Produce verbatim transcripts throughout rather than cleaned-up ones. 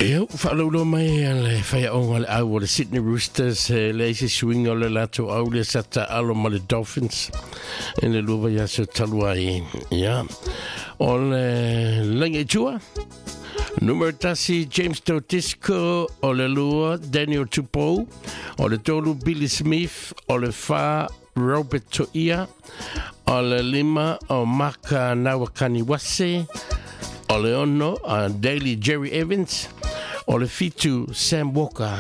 Ia, whaalaulo mai a le whaiaonga le au o le Sydney Roosters, e le eisi suiga o le latou au le sa taalo ma le Dolphins i le lua vaiaso talu ai. Ia, o le lagi i tua, numero tasi James Tautisco, o le lua Daniel Tupou, o le tolu Billy Smith, o le wha Robert Toia, o le lima o Maka Nawakaniwase, o le ono uh, Daly Jerry Evans, o le fitu Sam Walker,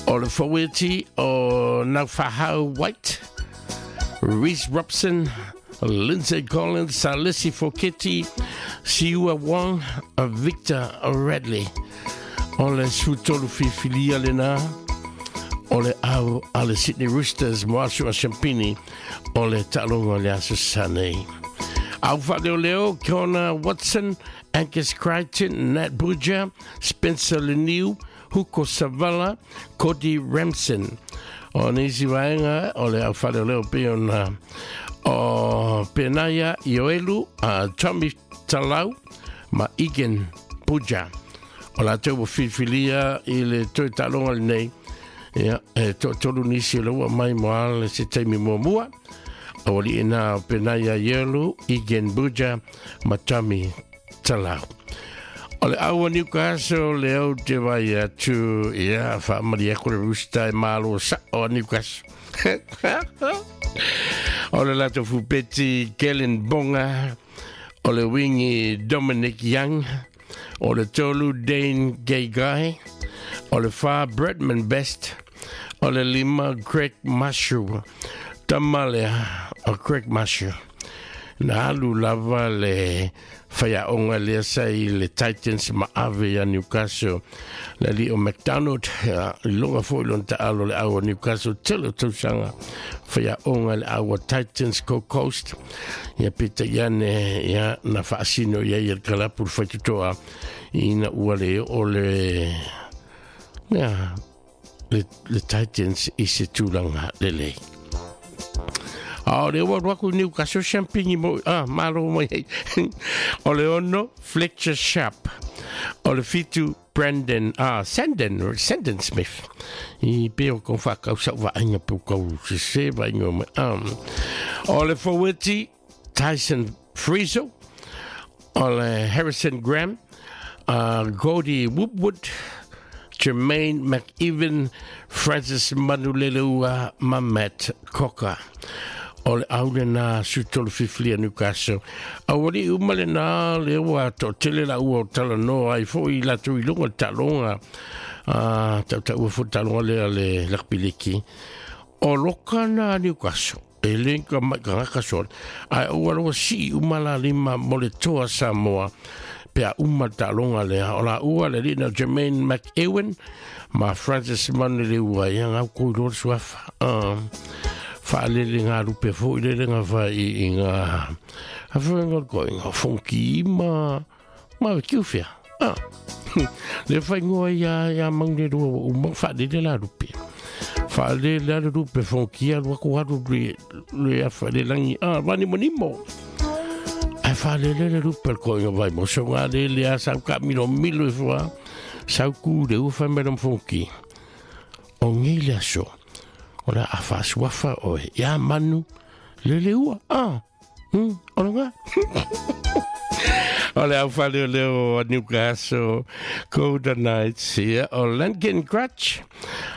o le faweti o Naufahau White, Reece Robson, Lindsay Collins, Salesi Foketi, Siua Wong, Victor Radley. O le sutolu fifilia lena, o le au a le Sydney Roosters, mo aso a Champini, o le taaloga o le aso Sanei. Au whaaleo Connor Watson, Angus Crichton, Nat Buja, Spencer Leniu, Huko Savala, Cody Ramson. O nisi vaenga, o le au whaaleo pe ona o Penaia Ioelu, uh, Tommy Talau, ma Egan Buja. O la tau filfilia i le toi taaloga lenei. Ia, e to tolu nisi o le ua mai mo ale se taimi muamua. O li ina o Penaia Ioelu, Egan Buja, ma Tommy Talau. O le aua Newcastle, le au te vai atu, ia, whaamari ako le Rooster e malo sa o Newcastle. O le lato fupeti Kellen Bonga, o le wingi Dominic Young, o le tolu Dane Gayguy, o le wha Bradman Best, o le lima Greg Mashu, tamalea o Greg Mashu. Na alu lava le whaiaonga lea sa i le Titans ma ave ia Newcastle. Le li o McDonald, ia, i longa foi lon taalo le au o Newcastle, tele o tausanga whaiaonga le au o Titans Gold Coast. Ia pita iane, ia, na whaasino ia i el kalapu le whaitutoa ina ua le o le, ia, le, le Titans i se tūlanga lelei. O le ua ruaku Newcastle Champigny mo, ah, malo mai hei. O le ono, Fletcher Sharp. O le fitu, Brandon, ah, Sandon, Sandon Smith. I peo kau whakau sau vainga peo kau sese vainga mai. Um. O le faweti, Tyson Frizzle. O le Harrison Graham, uh, Gordy Woodward, Jermaine McEwen, Francis Manuleleua, ma Matt Cocker. O le au le nā sutolu fifilia Newcastle. Au ali uma le nā le ua to tele la ua o talanoa ai fo i latu i lunga talonga. Ah, tau tau ua fo talonga lea le lakpiliki. O loka nā Newcastle. E lenka mai ka ngaka sore. Ai ua loa si uma la lima mo le toa Samoa. Pea uma talonga lea. O la ua le lina Jermaine McEwen ma Francis Manuleleua. Ia ngau koi loa suafa. Ah. Whaalele ngā rupe fo i lele ngā wha i, i ngā awhenga ko i ngā fonki ma ma kiuwhea. Ah. Le whai ngoa ia, ia maune rua wa uma whaalele la rupe. Whaalele la rupe fonki a rua ko haru le, le awha le langi. Ah, wani monimo. Ai whaalele le rupe ko i ngā vai mo. So ngā lele a sau ka milo milo i wha. Sau kūre ua whai meram fonki. O ngei le aso. O la awhasuafa oe. Ia manu, lele ua. Ah, hmm, o ngā. O le au whaleo leo o Newcastle, Golden Knights, ia, o Lankin Crutch,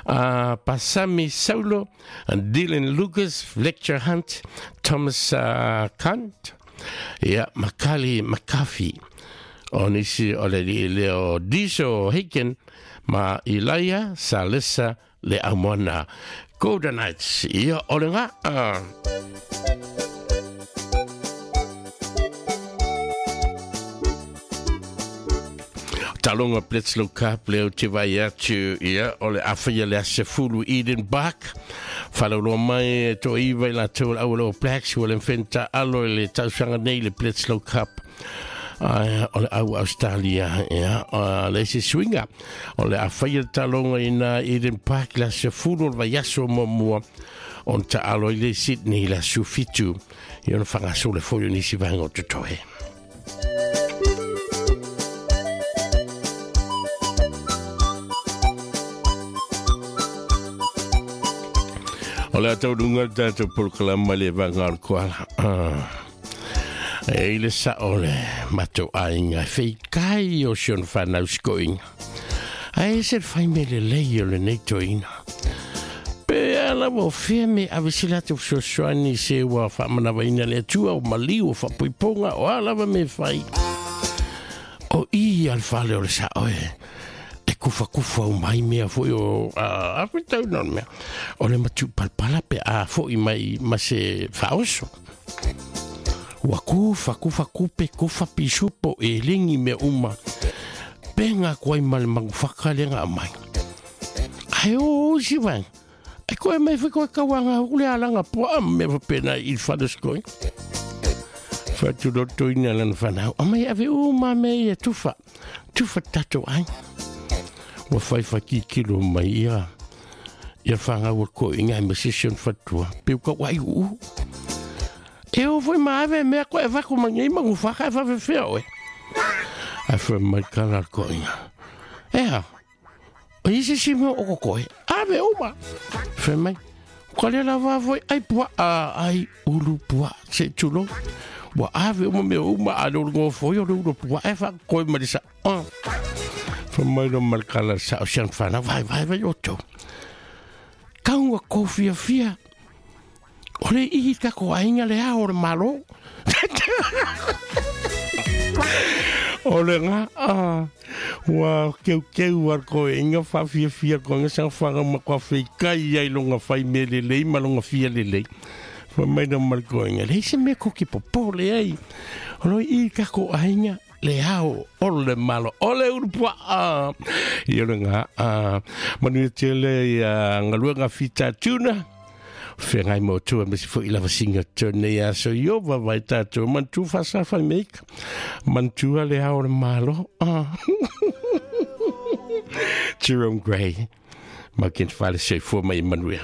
uh, Pasami Saulo, Dylan Lucas, Fletcher Hunt, Thomas uh, Kant, ia, Makali McAfee. O nisi o le li leo Diso Hiken, ma Ilaia Salesa le Aumoana. Golden Knights, ia o le ngā. Ah. Talonga Bledisloe Cup leo te vai atu, ia, o le awhaia le asefulu Eden Park. Whalauloa mai e to iwa i la tau au le o Blacks, ua le mwhenta alo i le tausanga nei le Bledisloe Cup. Uh, o le au Australia, ia, uh, le se swinga. O le awhaia talonga i nā Eden Park la sefulu o le vaiaso mua on ta alo i le Sydney la sufitu. I ona whangaso le foio nisi vaenga o totohe. O le atau dunga tātou polokalama le vanga o le koala. E i le sa o le matou aiga feikai o si ona fanau sikoiga. Ae se le fai mea lelei o lenei toeaina. Pe a lava o fea me ave se latou fesoasoani se ua faamanavaina le Atua o maliu o faapuipuga o a lava me fai. O i a le fale o le sa'o e e kufakufa o mai mea foi o a a fetau na mea. O le matu'upalapala pe a fo'i mai ma se faaoso. Ua kufa kufa kupe kufa pisupo e ligi mea uma. Pega koai ma le magufaka le ga mai. Ae o si vai. Ai koe mai foi koe kauanga o le alaga poa me pena i fale skoi. Fatu ina lana fanau. O mai ave uma me e tufa. Tufa tatou ai. Ua fai fakikilo mai ia. Ia whangau o ko inga ma session fatua. Peu ka wai u. E o foi ma ave mea koe vaku mangi magufaka e whawhewhea oe. Ai fai mai kala ko inga. Ea, o isi si mea o koe. Ave uma. Fai mai, ka le lava foi ai pua a ai ulu pua se tulo. Ua ave uma mea uma a le ulu foi o le ulu pua e wha koe marisa. Fai mai no malkala sa o sian whana vai vai vai o tau. Kaunga ko fia fia. O le ihi kako ainga le ao le malo. O le ngā, ah, ua keu keu ar koe inga wha fia fia koe nga sang whanga ma kua whikai ai longa whai me lelei ma longa fia lelei. Wha mai na mar koe inga, lei se mea koki popo le ai. O loi i kako ainga le ao o le malo, o le urupua a. I o le ngā, ah, manu e tele ia ngaluanga fita tuna. Whengai mo tua me si fo ila vasinga tone ia so io va vai tātou mantu whasa whai meika mantua le ao le malo. Ah. Jerome Gray ma ken whale se fo mai manuia.